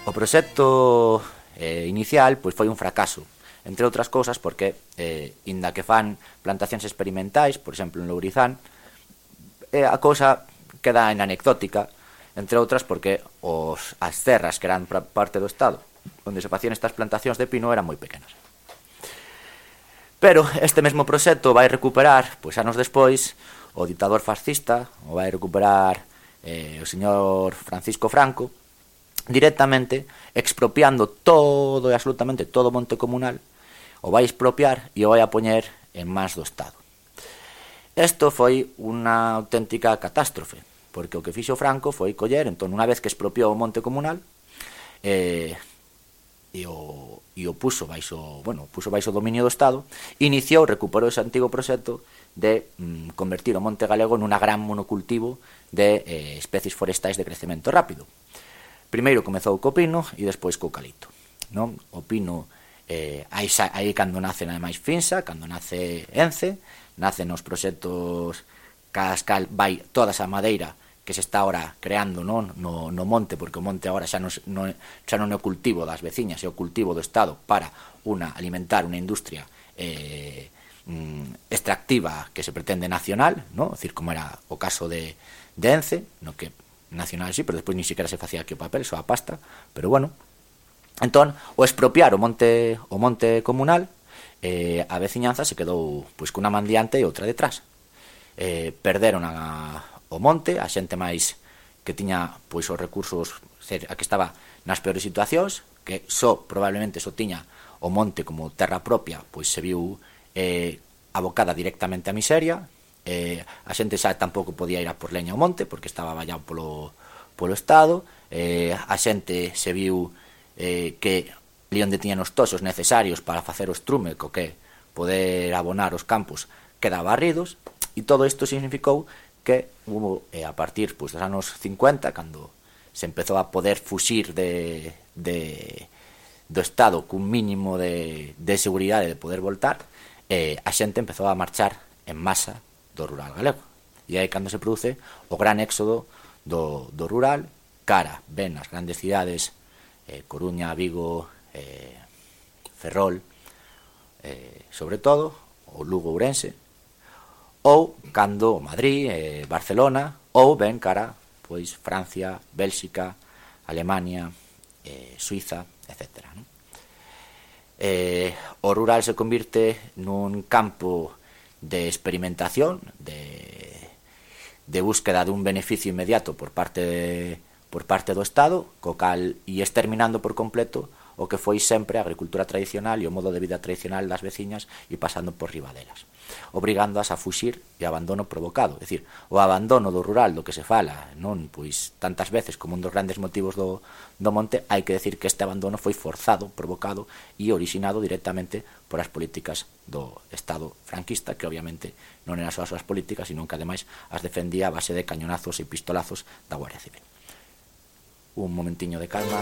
O proxecto inicial pois foi un fracaso, entre outras cousas porque, inda que fan plantacións experimentais, por exemplo en Lourizán, a cousa queda en anecdótica, entre outras porque as terras que eran parte do Estado onde se facían estas plantacións de pino eran moi pequenas. Pero este mesmo proxecto vai recuperar, pois anos despois, o ditador fascista, o vai recuperar o señor Francisco Franco, directamente expropiando todo e absolutamente todo o monte comunal, o vai expropiar e o vai a poñer en mans do Estado. Isto foi unha auténtica catástrofe, porque o que fixo Franco foi coller, entón, unha vez que expropiou o monte comunal, e o puso baixo dominio do Estado, recuperou ese antigo proxecto de convertir o monte galego nunha gran monocultivo de especies forestais de crecemento rápido. Primeiro comezou co pino e despois co eucalipto, non? O pino, aí cando nace ademais Finsa, cando nace Ence, nacen os proxectos cascal, vai toda esa madeira que se está ahora creando no monte, porque o monte agora xa non é o cultivo das veciñas, é o cultivo do Estado para alimentar unha industria extractiva que se pretende nacional, no? É dicir, como era o caso de Ence, no que nacional sí, pero despois ni siquiera se facía aquí o papel, só a pasta, pero bueno. Entón, o expropiar o monte comunal, a veciñanza se quedou pois cunha man diante e outra detrás. Perderon o monte, a xente máis que tiña pois os recursos, a que estaba nas peores situacións, que probablemente tiña o monte como terra propia, pois se viu abocada directamente á miseria. A xente xa tampouco podía ir a por leña ao monte porque estaba vallado polo Estado. A xente se viu que ali onde tiñan os toxos necesarios para facer o estrume co que poder abonar os campos quedaba barridos, e todo isto significou que hubo, a partir dos anos 50, cando se empezou a poder fuxir do Estado cun mínimo de seguridade de poder voltar, a xente empezou a marchar en masa do rural galego. E aí cando se produce o gran éxodo do rural cara ben as grandes cidades, Coruña, Vigo, Ferrol, sobre todo, o Lugo, Ourense, ou cando Madrid, Barcelona, ou ben cara pois Francia, Bélxica, Alemania, Suiza, etc. O rural se convirte nun campo de experimentación, de búsqueda dun beneficio inmediato por parte do Estado, co cal e exterminando por completo o que foi sempre a agricultura tradicional e o modo de vida tradicional das veciñas e pasando por riba delas, obrigándoas a fuxir e abandono provocado. É dicir, o abandono do rural do que se fala non pois tantas veces como un dos grandes motivos do monte, hai que decir que este abandono foi forzado, provocado e orixinado directamente por as políticas do Estado franquista, que obviamente non eran só as súas políticas, sino que ademais as defendía a base de cañonazos e pistolazos da Guardia Civil. Un momentiño de calma.